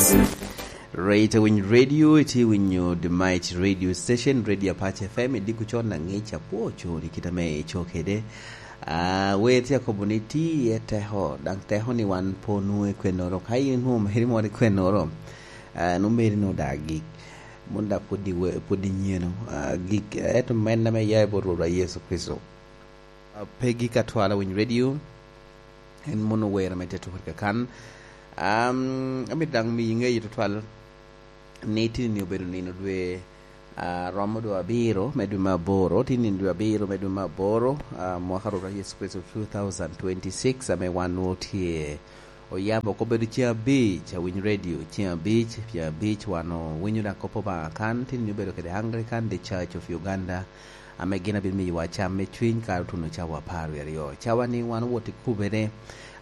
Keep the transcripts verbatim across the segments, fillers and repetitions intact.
Right, awiny radio, iti winyo The Might Radio Station, Radio Apache F M, idiko con na ngic apwo coni kita me ico kede. Ah, wer tye akobo ni ti iye teko, dang teko ni wan po nwoŋo i kwennoro. Ka in nwoŋo meri moro i kwennoro, ah, nwoŋo meri nwoŋo da gik. Mon da pwod i we-, pwod i nyeno. Ah, gik, eto men ame ya i bot Rwotwa Yecu Kricito. Ah, Peggy Katwal, awiny radio. En mono wer ame te tuko kakan. Am, amito daŋ miyi ŋeyo tutwal ni tini-ni obedo nino dwe, ah, romo dwe abiro me dwe me aboro, tini-ni dwe abiro me dwe me aboro, ah, mwaka Rwotwa Yecu Kricito two thousand twenty-six, ame wan nwoŋo tye oyabo oko obedo ceŋ abic, awiny radio, ceŋ abic, ceŋ abic wan owinyo daŋ kop Obaŋa kan, tini-ni obedo kede Anglican The Church of Uganda, ame gin abino miyowa cam me cwiny kara otuno cawa apar wie aryo. Cawa ni wan owot i kubere,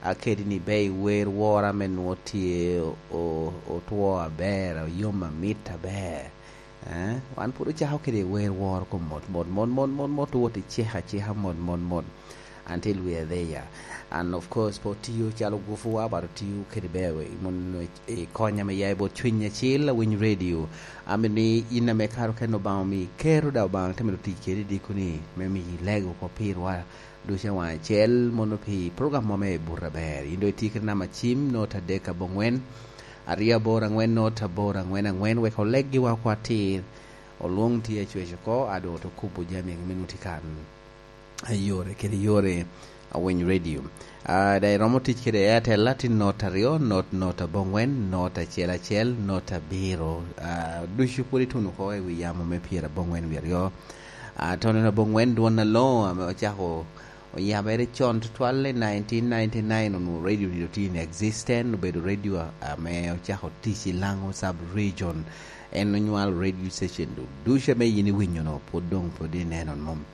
a kede ni be i wer wora ame nwoŋo tye o-, otwo aber, oyom amit aber. Eh, wan pwod ocako kede wer woro kom mot, mot, mot, mot, mot, mot, owot i cika, cika, mot, mot, mot. Until we are there. And of course, pe otiyo calo gufuwa, but otiyo kede ber, mon, i konya me ya i bot Cwiny Acil, Awiny Radio. Amito ni in ame kare okene Obaŋa omi kero, da Obaŋa te medo tic kedi i diko ni, me miyi lego oko pirwa ducu awaŋ acel, mono pi program mo me Buto Aber. In doŋ itye kede namba cim, note adek aboŋwen, aryo aboro aŋwen, note aboro aŋwen aŋwen, wek oleggiwa oko atir, olwoŋ tye acwec oko, a doŋ oto kubo jami egi me nuti kan. Yore kede yore, Awiny Radio. Ah, da iromo tic kede Airtel, atin not aryo, not, not aboŋwen, not acel acel, not abiro. Ah, ducu pwod ituno oko i wi yamo me pyera aboŋwen wie aryo. Ah, tono aboŋwen dwon aloŋo ame ocako oyabere con tutwal i nineteen ninety-nine, onwoŋo radio ni dok tye in existence, obedo radio ame ocako tic i Laŋo sub region. En onywalo radio station du-, ducu ame yin iwinyo no, pwod doŋ pwod ineno mom.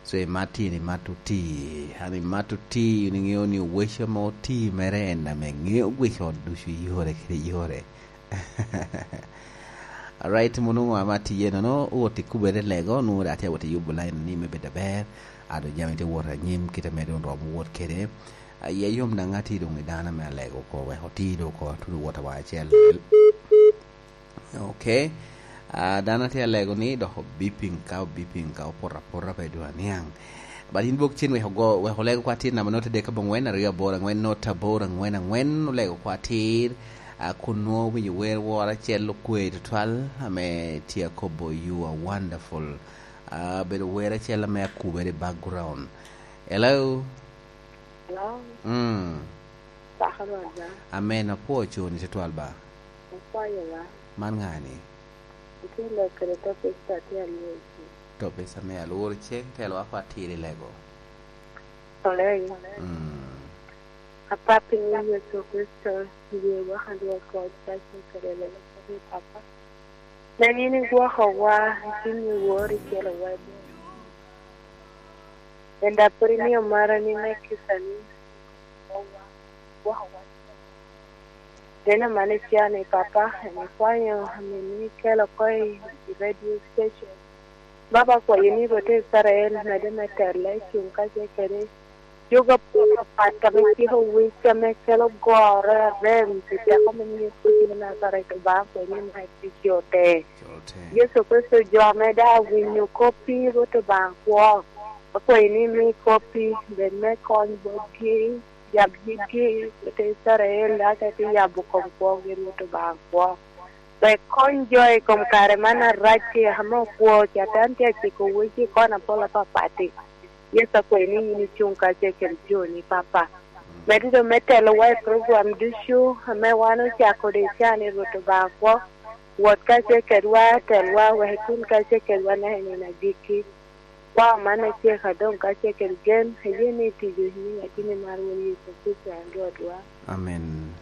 So, imat in, imat oti, an imat oti, in iŋeo ni oweco ame oti mere en ame ŋeo gwic ot ducu i yore kede yore. Alright, mono ŋo ame atye nono, owot i kubere lego, nwoŋo da atye awot i yubo line ni me bedo aber, a doŋ jami tye wot anyim, kite ame doŋ romo wot kede. Aye yom daŋ atye doŋ i dano ame alego oko, wek oti doŋ oko, atudo wot awaŋ acel. Ok. Ah, dano atye alego ni dok obiping ka, obiping ka, opoto apota pe dwe aniaŋ. But in bok cen wek ogo, wek olego kwa tin namba note dek aboŋwen aryo aboro aŋwen note aboro aŋwen aŋwen, olego kwa tin. Ah, kun nwoŋo winyo wer woro acel okwe tutwal ame tye akobo, "You are wonderful." Ah, bedo wer acel ame akubere i background. Hello? Hello? Mm. Pako Rwot ba? Amen. Apwoo coni tutwal ba. Apwoyo ba. Man ŋa ni? Atye lok kede topic a tye alworo cen. Topic ame alworo cen, telo wako atir i lego. Olego. Mm. Apa piny Yecu Kricito, ye waka Rwot kod paco kede lelo kodi Papa. Nen in igwokowa, itinni wori kelo wa i boma. Enda pwod imio marani me kica ni igwokowa. Nen aman ica ni, Papa, en ikwanyo amin ni ikelo oko i, i radio station. Baba, akwayo ni Rwot Icrael medde me tela, i cuŋ kacel kede jogo apapat ame ciko wic, ame kelo goro, arem, pi teko me nyiŋ Yecu Kricito me Najaret, Obaŋa, akwayo ni mak tic ote. Ote. Yecu Kricito, jo ame daŋ winyo koppi, Rwot Obaŋa kwo, akwayo ni imi koppi bed me kony botgi, yab yitgi, Rwot Icrael, aka itye yabo kom kwogi, Rwot Obaŋa kwo. Wek kony jo i kom kare man arac-ci ame opwoo, Catan tye aciko wecci i kona pol apapat-ti. Yecu, akwayo ni yin icuŋ kacel kede joni, Papa. Medde doŋ me telowa i program ducu ame wan ocako kede i can-ni, Rwot Obaŋa kwo. Wot kacel kedwa, telwa, wek itun kacel kedwa naka i nino agikki. Kwao man acek adoŋ kacel kede gen, ayie ni itico i nyiŋ Ateni mar Won Yecu Kricito, en Rwotwa. Amen.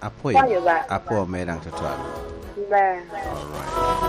Apwoyo, Apwoyo ba. Apwoo mere daŋ tutwal. Ber. All right.